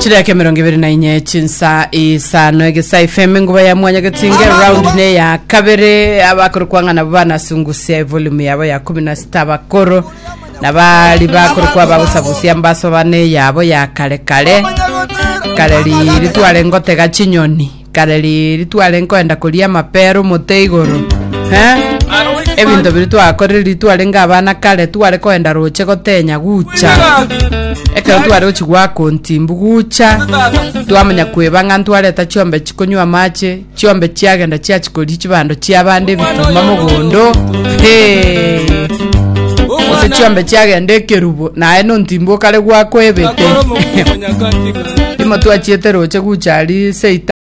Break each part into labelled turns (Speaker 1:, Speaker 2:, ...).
Speaker 1: Chidakika 24 chinsa isano egesa FM enguba ya mwanya getinge round ne ya kabere abakoro kwang'a nabo banasungusia evolume yabo ya 16 abakoro nabari bakoro kwa bagosabusia mbaso bane yabo ya kare kare kare riri tware ngotega chinyoni Kare riiri tware nkoenda koria amapera omote igoro, eh? Ebinto biria twakorire riria twarenge abana kare, tware koenda roche gotenya gucha. Ekero tware gochia goaka ontimbu gucha, twamanya kweba ng'a ntwareta chiombe chikonywa amache, chiombe chiagenda chiachia koria chibando chiabande ebituma mogondo, hee. Gose chiombe chiagenda ekerubo, naye nontimbu okare goakwa ebete. Rimo twachiete roche gucha aria seita.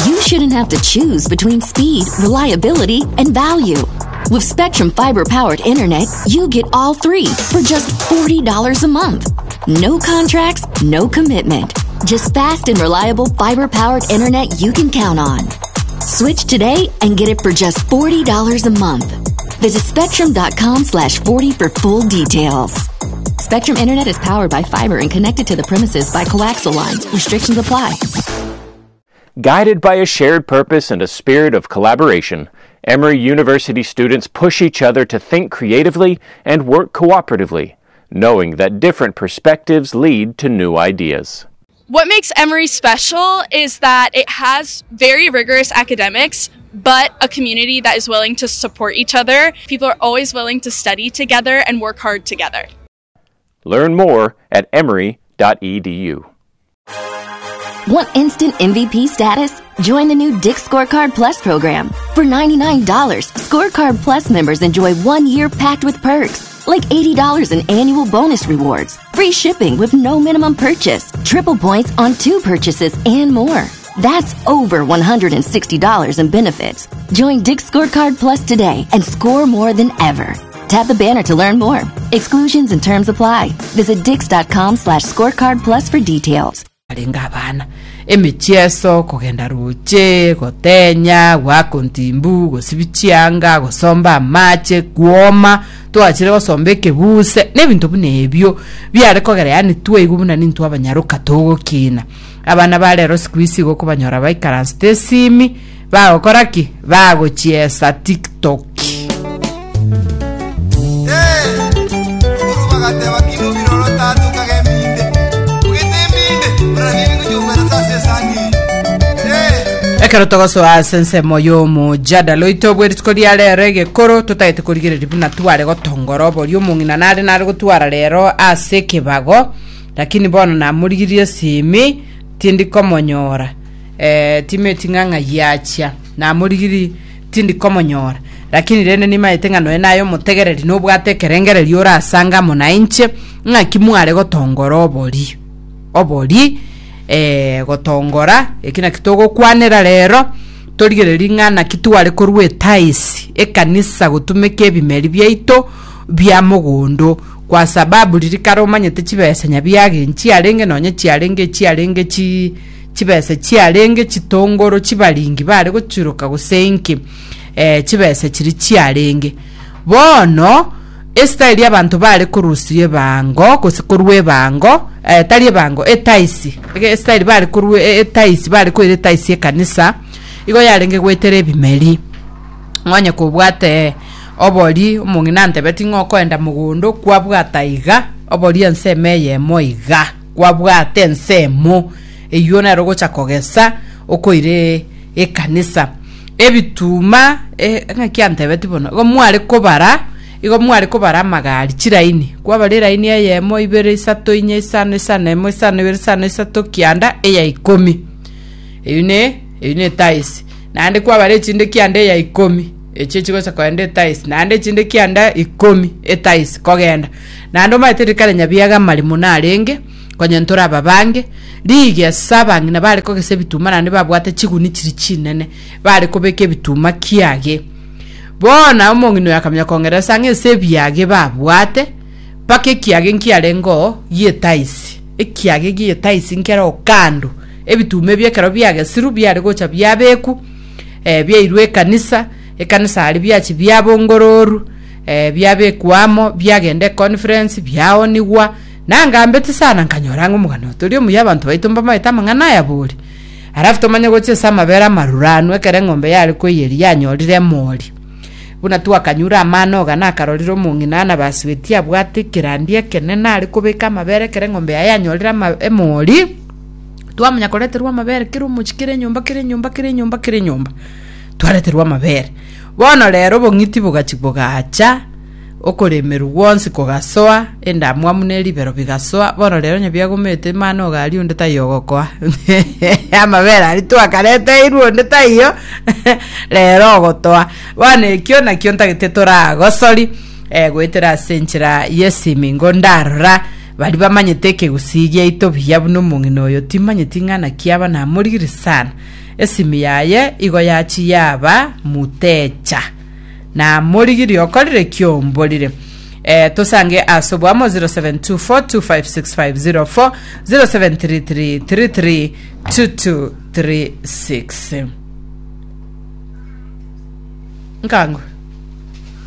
Speaker 2: You shouldn't have to choose between speed, reliability, and value. With Spectrum Fiber powered internet, you get all three for just $40 a month. No contracts, no commitment. Just fast and reliable fiber powered internet you can count on. Switch today and get it for just $40 a month. Visit spectrum.com slash 40 for full details. Spectrum Internet is powered by fiber and connected to the premises by coaxial lines. Restrictions apply.
Speaker 3: Guided by a shared purpose and a spirit of collaboration, Emory University students push each other to think creatively and work cooperatively, knowing that different perspectives lead to new ideas.
Speaker 4: What makes Emory special is that it has very rigorous academics, but a community that is willing to support each other. People are always willing to study together and work hard together.
Speaker 3: Learn more at emory.edu.
Speaker 2: Want instant MVP status? Join the new Dick Scorecard Plus program. For $99, Scorecard Plus members enjoy one year packed with perks, like $80 in annual bonus rewards, free shipping with no minimum purchase, triple points on two purchases, and more. That's over $160 in benefits. Join Dick Scorecard Plus today and score more than ever. Tap the banner to learn more. Exclusions and terms apply. Visit dix.com slash scorecard plus for details.
Speaker 1: Arenge abana, emechieso, kogenda roche, gotenya, goaka ontimbu, gosibia chianga, gosomba amache, kwoma, twachire gosomba ekebuse, na ebinto buna ebio, biare kogera yaani twaigwa buna nintwe abanyaroka togokina. Abana ba rero siku hizi igo okobanyora baikaransete esimi, bagokora ki? Bagochiesa tiktok. Ekero togosoa ase ensemo y'omojadala oito bwe rituko ria rero egekoro totagete korigereria buna tware gotongora oboria omong'ina nare nare gotwara rero ase ekebago Lakini bono namorigirie esimi, tindi komonyora, eh, timeti ng'a ng'ai achia. Namorigirie, tindi komonyora. Lakini rende nimaete ng'a nonya naye omotegereri nobwate ekerengererio orasange amo nainche, ng'aki mware gotongora obori. Obori, eh, gotongora, eki naki togokwanera rero, torigererie ng'a naki tware korwa etaisi, ekanisa gotumeka ebimeri biaito bia mogondo. Kwa sababu riria kare omanyete chibesa nyabiage nchiarenge nonye chiarenge echiarenge chi chibesa chiarenge chitongoro chibaringi bare gochiroka gose inki eh, chibesa chiria chiarenge. Bono estyle abanto bare korusia ebango gose korwa ebango eh, tari ebango etaisi ege estyle bare korwa etaisi bare koira etaisi ekanisa igo yarenge goetera ebimeri. Onye kobwate obori, omong'ina antebeti ng'a okoenda mogondo kwabwata iga, obori ensemo eyemo iga, kwabwata ensemo eywo nero ogocha kogesa okoire ekanisa. Ebituma eh ng'aki antebeti bono, igo mware kobara, igo mware kobara amagari chiraini, kwabara eraini eyemo, ibere, isato, inye, isano, isano emo, isano ibere, isano isato, kianda, eya ikomi. Eywo ne eywo ne etaisi. Naende kwabara echinde kianda eya ikomi, echio chigocha kogenda etaisi, naende echinde kianda ikomi etaisi kogenda. Naende omanyete rikare nyabiaga amaremo narenge, konya ntore ababange, rigesa abang'ina bare kogesa ebituma naende babwate chiguni chiria chinene, bare kobeka ebituma kiage. Bono omong'ina oyo akamanya kong'eresa ng'a ase ebiage babwate, mpaka ekiage nkiarenge oo gi'etaisi, ekiage gi'etaisi nkere oo kando. Ebituma ebio ekero biagesirwe biare gocha biabekwa, eh, biairwe ekanisa, ekanisa aria biachia biabongororwa, eh, biabekwa amo, biagenda econference, biaonigwa, Nangambete sana nkanyora ng'a omogano oyo tori omuya abanto baito mbamaete amang'ana aya bori. Alafu tomanye gochia ase amabere amaruranu ekero eng'ombe yare koiyeria yanyorire emori. Buna twakanyure amana oga nakarorire omong'ina ana basweti abwate ekerandi ekenene are kobeka amabere ekero eng'ombe yaye yanyorire ama emori, twamanya koreterwa amabere kera omochie kera enyomba kera enyomba kera enyomba kera enyomba, twareterwa amabere. Bono rero obong'iti bogachia bogacha. Okoremerwa gwonsi kogasoa, endamwamu ne ribero bigasoa, bono rero onye biagomete mani ogaria onde taiyo ogokoa. Amabere aria twakareteirwe onde taiyo, rero ogotoa. Bono ekio nakio ntagete toragosori eh, goetera ase enchera y'esimi ingo ndarora baria bamanyete ekegusii giaito buya buna omong'ina oyo timanyeti ng'a naki aba namorigire sana. Esimi yaye igo yachia yaba mutecha. Namorigirie okorire ki omborire. Eh, tosange ase oboamo 0724256504 0733332236 nkango.